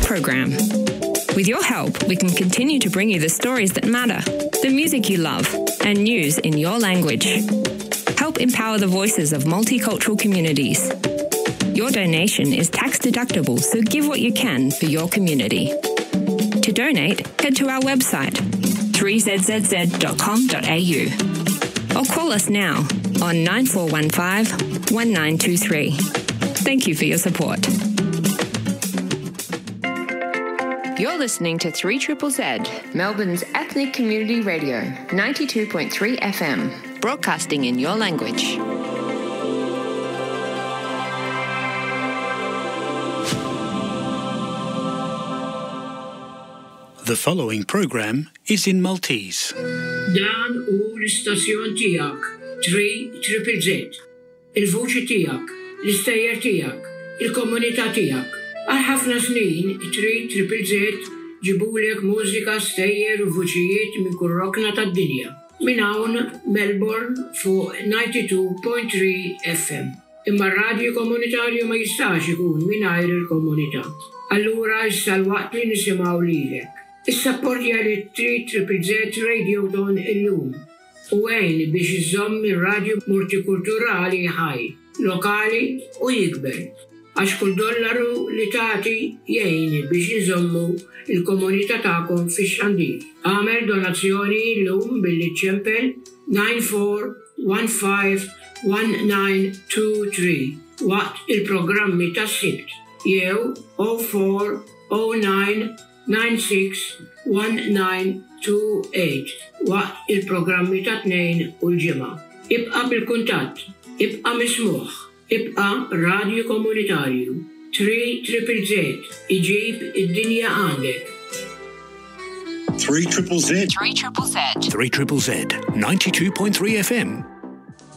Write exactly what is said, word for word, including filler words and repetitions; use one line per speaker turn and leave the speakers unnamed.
program. With your help, we can continue to bring you the stories that matter, the music you love, and news in your language. Help empower the voices of multicultural communities. Your donation is tax deductible, so give what you can for your community. To donate, head to our website, three Z Z Z dot com dot A U, or call us now on nine four one five one nine two three. Thank you for your support. You're listening to three Triple Z, Melbourne's ethnic community radio, ninety-two point three F M, broadcasting in your language.
The following program is in Maltese.
Dan hu l-istazzjon tiegħek, three Triple Z. Il-vuċi tiegħek, l-istejjer tiegħek, il-komunità tiegħek. Għal ħafna snin, three Triple Z ġibulek mużika, stejjer u vuċijiet minn kull rokna tad-dinja. Minn hawn Melbourne fuq disgħin punt tlieta F M. Imma r-radju komunitarju ma jistax ikun mingħajr il-komunità. Allura issa l-waqt li nisimgħu lilek. Issapportja li three Triple Z Radiothon illum u għin biex iżomm ir-radju multikulturali ħaj, lokali u jikber. Għax kull dollaru li tagħti jgħin biex iżommu il-komunità tagħkom fix-xandir. Agħmel donazzjoni illum billi ċempel nine four one five one nine two three waqt il-programmi tas-Sibt jew zero four zero nine nine six one nine two eight waqt il-programmi ta' Tnejn u l-Ġimgħa. Ibqa' bil-kuntatt, ibqa' mismugħ, ibqa' radju komunitarju. three Triple Z iġib id-dinja għandek.
three Triple Z.
three Triple Z.
three Triple Z, ninety-two point three F M.